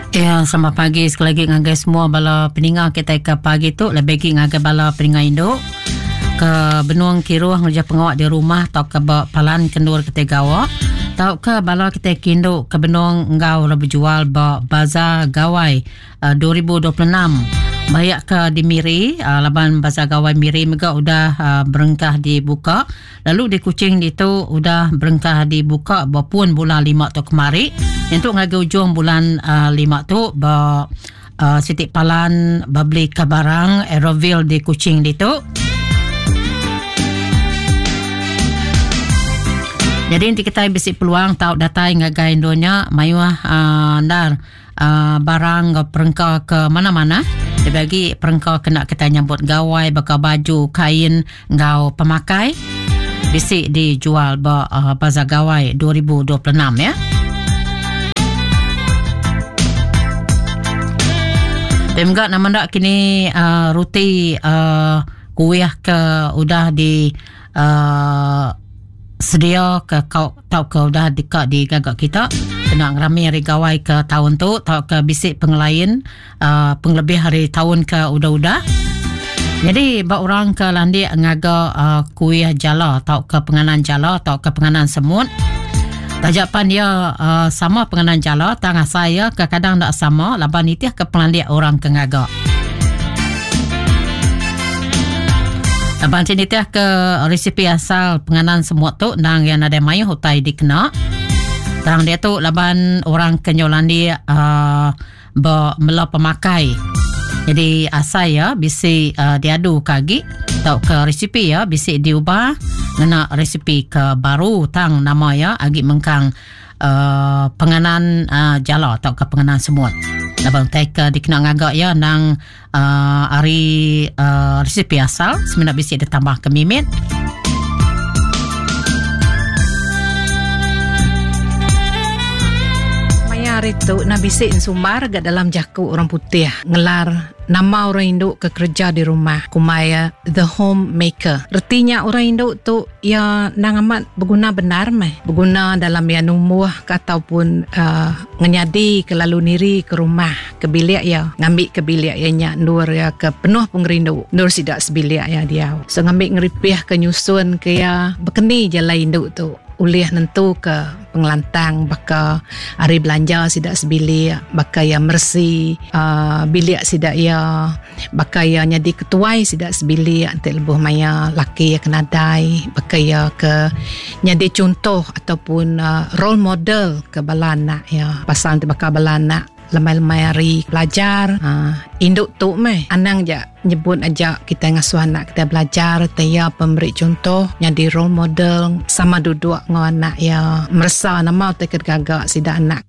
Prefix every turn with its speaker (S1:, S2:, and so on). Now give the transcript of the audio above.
S1: Ya, selamat pagi sekali lagi ngagai semua bala peninga kita ke pagi tu lebih lagi ngagai bala peninga indu ke benung kiruh ngereja pengawa di rumah tauka ba palan kendur kita gawa tauka bala kita kindu ke benung enggau bejual ba bazar gawai 2026. Bayak ke di Miri, laban Bazar Gawai Miri mega udah berengkah dibuka. Lalu di Kuching ditu udah berengkah dibuka ba pun bulan lima tu kemari. Nyentuk ngagai ujung bulan lima tu ba siti palan bebeli ke barang Aeroville di Kuching ditu. Jadi enti kitai bisi peluang tau datai ngagai endur nya mayuh endar barang enggau perengka ke manah-manah lebih agi perengka kena kitai nyambut gawai baka baju, kain enggau pemakai bisi dijual ba Bazar Gawai 2026 ya. Pia mega nama enda kini uh, ruti uh, kuih ke udah di uh, sedia ke kau tauka udah deka digaga kita kena ngerami hari gawai ke taun tu tauka bisi pengelain uh, pengelebih hari taun ke udah-udah. Jadi ba orang ke landik ngaga uh, kuih jala tauka penganan jala tauka penganan semut taja pan dia uh, sama penganan jala tang asai iya kadang enda sama laban nitih ke pengelandik orang ke ngaga. Laban ti nitih ke resipi asal penganan semut tu endang iya nadai mayuh utai dikena. Tang diatu laban orang ke nyau landik uh, ba mela pemakai. Jadi asai iya bisi uh, diadu ke agi tauka resipi iya bisi diubah ngena resipi ke baru tang nama iya agi mengkang uh, penganan uh, jala tauka penganan semut. Laban utai ke dikena ngaga iya endang uh, ari uh, resipi asal semina bisi ditambah ke mimit.
S2: Maya hari tu na bisi ensumbar ga dalam jaku orang putih ngelar nama orang indu ke kerja di rumah kumbai iya the homemaker. Reti nya orang indu tu iya endang amat beguna bendar meh. Beguna dalam iya numbuh ke ataupun uhh ngenyadi ke lalu niri ke rumah ke bilik iya ngambi ke bilik iya nya endur iya ke penuh pengerindu endur sida sebilik iya diau. So ngambi ngeripih ke nyusun ke iya bekeni jalai indu tu ulih nentu ke pengelantang baka ari belanja sida sebilik baka iya meresi uhh bilik sida iya. Baka iya nyadi ketuai sida sebilik enti lebuh maya laki iya ke nadai baka iya ke nyadi chunto ataupun role model ke bala anak iya pasal enti baka bala anak lemai-lemai hari belajar uhh indu tu meh anang ja nyebut aja kitai ngasuh anak kitai belajar ti iya pemeri chunto nyadi role model sama duduk enggau anak iya meresa nama utai ke digaga sida anak.